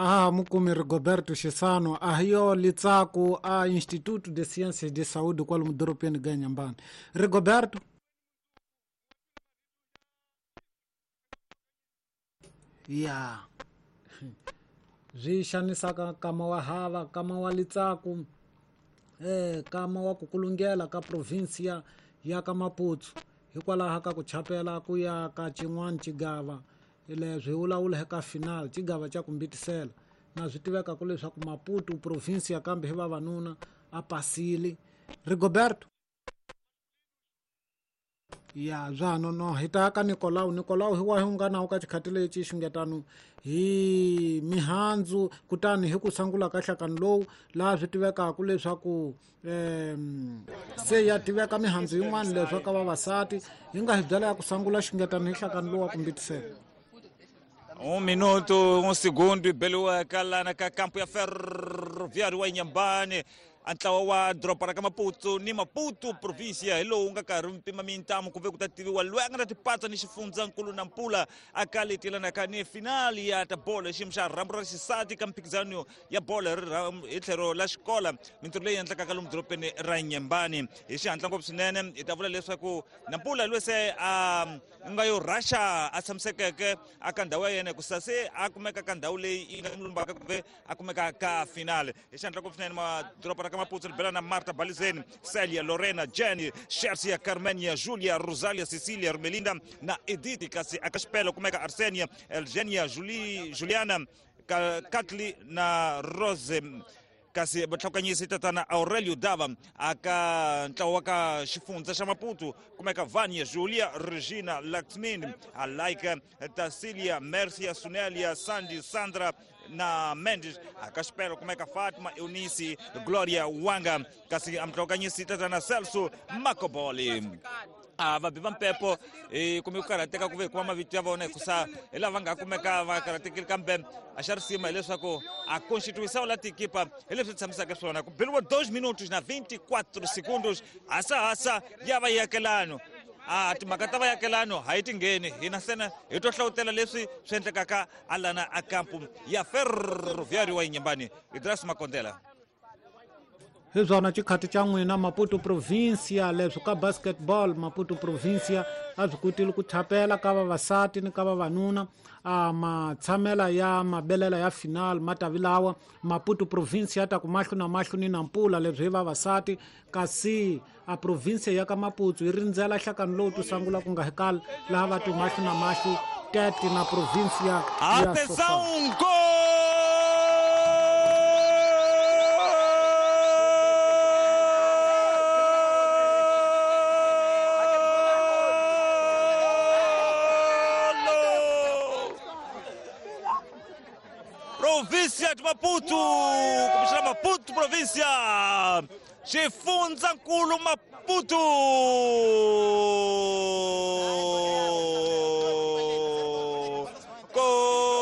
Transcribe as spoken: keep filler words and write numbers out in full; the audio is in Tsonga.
A mukumi Rigoberto Xisano a hi yo Litsaku a Instituto de Ciências de Saúde kwalomu doropeni ga Inhambane. Rigoberto ya swi xanisaka kama wa hava kama wa Litsaku eh kama wa kukulungela ka provincia ya ka Maputo hikwalaho ka ku chapela ku ya ka xin'wana xigava leswi vulavula eka final xigava xa ku mbitisela na swi tiveka ku leswaku Maputo provincia kambe hi vavanuna a pasile. Rigoberto ya bya no hi ta ka Nicolau. Nicolau hi wa hi nga na ka xikhati lexi xungetano hi mihandzu kutani hi ku sangula ka hlakani lowu laha swi tivekaka leswaku um se ya tiveka mihandzu yin'wana leswaku ka vavasati hi nga hi byela ya ku sangula xungetano hi hlakani lowu wa ku mbitisela. Um minuto, um segundo, beliwa lana ka campo ya Ferroviário wa Inhambane. Ntlawa wa doroba ra ka Maputo ni Maputo provincia hi lowu nga karhi mpima mintamu ku ve ku ta tiviwa loyi a nga ta tipatsa ni xifundzankulu na Nampula a ka leti lanaka ni finali ya ta bolo xiyimo xa rhambu ra xisati ka mphikizano ya bolo hi tlhelo la xikola mintirho leyi endlekaka lomu dorobeni ra Inhambane. Hi xihatla ngopfu swinene hi ta vula leswaku Nampula loyi se a nga yo rhaxa a tshamisekeke aka ndhawu ya yena hikusa se a kumeka ka ndhawu leyi yi nga n'wi lumbaka ku ve a kumeka ka finale. Hi xihatla ngopfu swinene madoroba ra ka Maputo ri bela na Marta Balizeni, Celia, Lorena, Jenny, Shersia, Carmenia, Julia, Rosalia, Cecilia, Romelinda na Edith. Kasi aka xipelo kumeka Arsenia, Elgenia, Juli, Juliana, Katli na Rose. Kasi vatlhakanyisi tatana Aurelio Dava aka ntlawa wa ka xifundza xa Maputo kumeka Vania, Julia, Regina, Laxmin, Alaika, Tasilia, Mercia, Sunelia, Sandy, Sandra na Mendes. Aka xipelo kumeka Fatma, Eunice, Gloria Wanga. Kasi amtlhakanyisi tatana Celso Makoboli. A vabi va mpepo hi kume ku karhateka ku ve kuma mavito ya vona hikusa hi lava nga kumeka va karhatekile kambe a xa risima hileswaku a constituição la tikipa hi leswi tshamisaka swona ku beliwa dois minutos na vinte e quatro segundos hasahasa ya vayakelano. A timhaka ta vayakelano ha yi tingheni hina ntsena hi to hlawutela leswi swi endlekaka alana a kampu ya Ferroviário wa Inhambane. Idras Makondela. Hi byona xikhati xa n'wina Maputo provincia leswi ka basketball Maputo provincia a swi kotile ku chapela ka vavasati ni ka vavanuna a matshamela ya mabelela ya final ma tavi lawa Maputo provincia ta ku mahlo na mahlo ni Nampula leswi hi vavasati kasi a provincia ya ka Maputo yi rindzela hlakani lowu to sangula ku nga hi kala laha va ti mahlo na mahlo Tete na provincia ya Atenção, Província de Maputo, como chama Maputo, província, xifundzankulu Maputo.